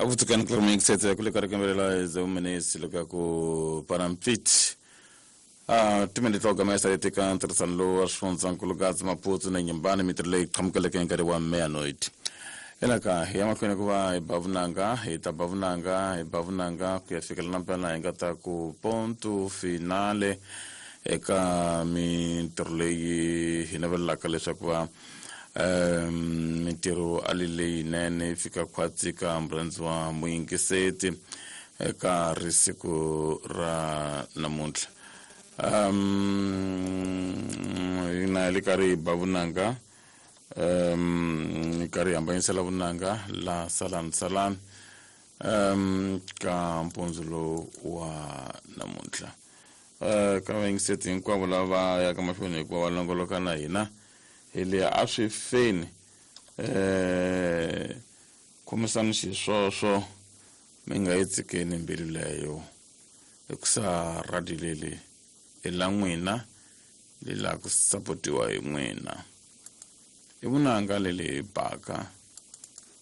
Akutsikani ku ri mixete kule ka rikembelela zemumenesi loko ku parampit a timende to gamesa leti ka ntirhisano lowu wa swifundzankulu Gaza Maputo na Nyumbani mintirho leyi qhamukeleke hi nkarhi wa meanoid elaka hi ya mahlweni ku va hi ba vunanga hi ta ba vunanga hi ba vunanga ku ya fikela na mpela hi nga ta ku ponto finale eka mintirho leyi hi navelelaka leswaku va mintirho a li leyinene yi fika khwatsi ka murhandzi wa muyingiseti eka risiku ra namuntlha. Hina hi le karhi hi ba vunanga, hi karhi hi hambanyisela vunanga la salani salani ka mpundzu lowu wa namuntlha. Ka vayingiseti hinkwavo lava yaka mahlweni hikuva va longoloka na hina hi le a swi feni, khomisani xiswoswo mi nga yi tshikeni mbilu leyo, hikusa radio leli i la n'wina, li la ku sapotiwa hi n'wina. I vunanga leli hi baka.